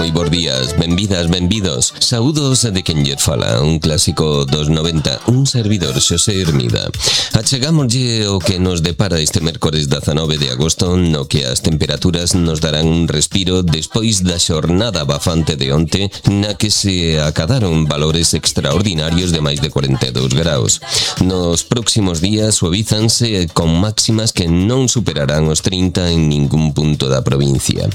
moi bons días, benvidas, benvidos. Saúdos de quen lle fala, un clásico dos 90, un servidor, Xosé Hermida. Achegámoslle o que nos depara este mércores 19 de agosto, no que as temperaturas nos darán un respiro despois da xornada bafante de onte, na que se acadaron valores extraordinarios de máis de 42 graus. Nos próximos días suavízanse con máximas que non superarán os 30 en ningún punto da provincia.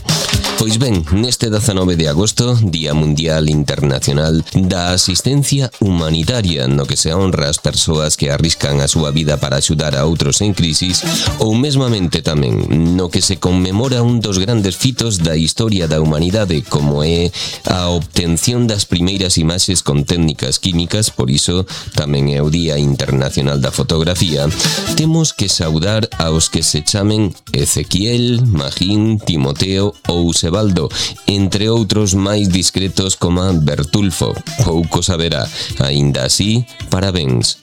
Pois ben, neste 19 de agosto, Día Mundial Internacional da Asistencia Humanitaria, no que se honra as persoas que arriscan a súa vida para axudar a outros en crisis, ou mesmamente tamén no que se conmemora un dos grandes fitos da historia da humanidade, como é a obtención das primeiras imaxes con técnicas químicas, por iso tamén é o Día Internacional da Fotografía. Temos que saudar aos que se chamen Ezequiel, Magín, Timoteo ou Sebaldo, entre outros máis discretos como Bertulfo. Pouco saberá, aínda así, parabéns.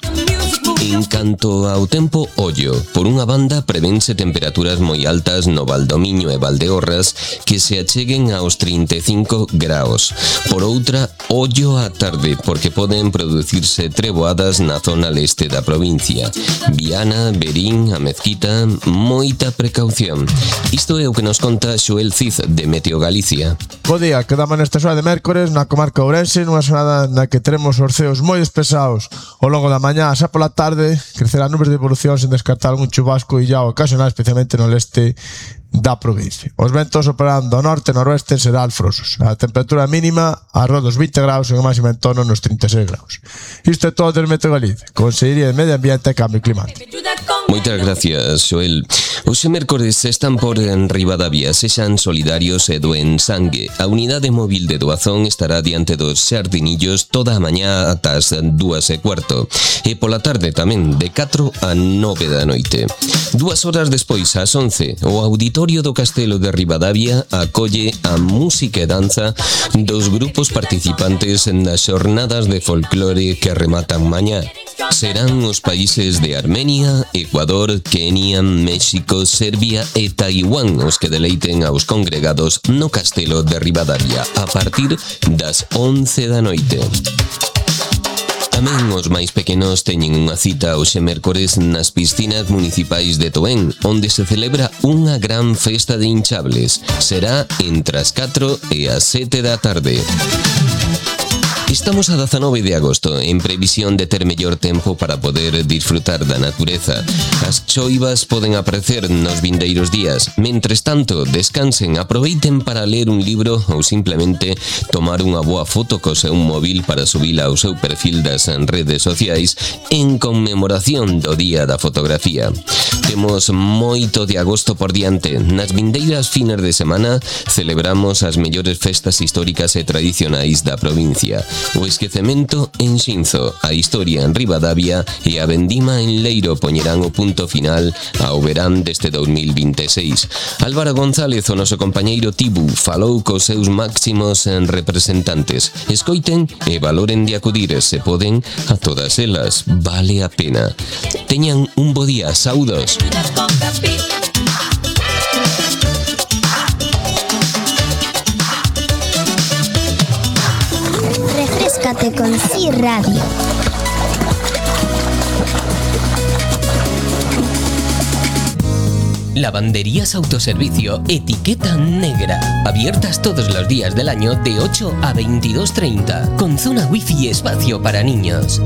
En canto ao tempo, ollo. Por unha banda, prevense temperaturas moi altas no Valdomiño e Valdeorras que se acheguen aos 35 graus. Por outra, ollo á tarde, porque poden producirse treboadas na zona leste da provincia. Viana, Verín, a Mezquita, moita precaución. Isto é o que nos conta Xoel Cid, de Meteo Galicia. Bo día, quedamos nesta xornada de mércores na comarca Ourense, nunha xornada na que teremos os ceos moi despesados ao longo da mañá, xa pola tarde crecerán nubes de evolución sen descartar algún chubasco illao ocasional, especialmente no leste da provincia. Os ventos operando ao norte e noroeste serán alfrosos. A temperatura mínima arroz dos 20 graus e a máxima en torno nos 36 graus. Isto é todo del Meteo Galicia, Consellería de Medio Ambiente e Cambio Climático. Moitas gracias, Xoel. Hoxe mércores están por en Ribadavia, sexan solidarios e doen sangue. A unidade móvil de doazón estará diante dos xardinillos toda a mañá ata as 2:15. E pola tarde tamén, de 4 a 9 da noite. 2 horas despois, ás 11, o Auditorio do Castelo de Ribadavia acolle a música e danza dos grupos participantes nas xornadas de folclore que rematan mañá. Serán os países de Armenia, Ecuador, Kenia, México, Serbia e Taiwán os que deleiten aos congregados no Castelo de Ribadavia a partir das 11 da noite. Tamén os máis pequenos teñen unha cita hoxe mércores nas piscinas municipais de Toén, onde se celebra unha gran festa de hinchables. Será entre as 4 e as 7 da tarde. Estamos a 19 de agosto, en previsión de ter mellor tempo para poder disfrutar da natureza. As choivas poden aparecer nos vindeiros días. Mentres tanto, descansen, aproveiten para ler un libro ou simplemente tomar unha boa foto co seu móvil para subila ao seu perfil das redes sociais en conmemoración do Día da Fotografía. Temos moito de agosto por diante. Nas vindeiras fines de semana celebramos as mellores festas históricas e tradicionais da provincia. O esquecemento en Xinzo, a historia en Ribadavia e a vendima en Leiro poñerán o punto final ao verán deste 2026. Álvaro González, o noso compañeiro Tibu, falou cos seus máximos representantes. Escoiten e valoren de acudir, se poden, a todas elas. Vale a pena. Teñan un bo día. Saúdos. Refréscate con Sí Radio. Lavanderías Autoservicio, etiqueta negra. Abiertas todos los días del año de 8 a 22:30. Con zona wifi y espacio para niños.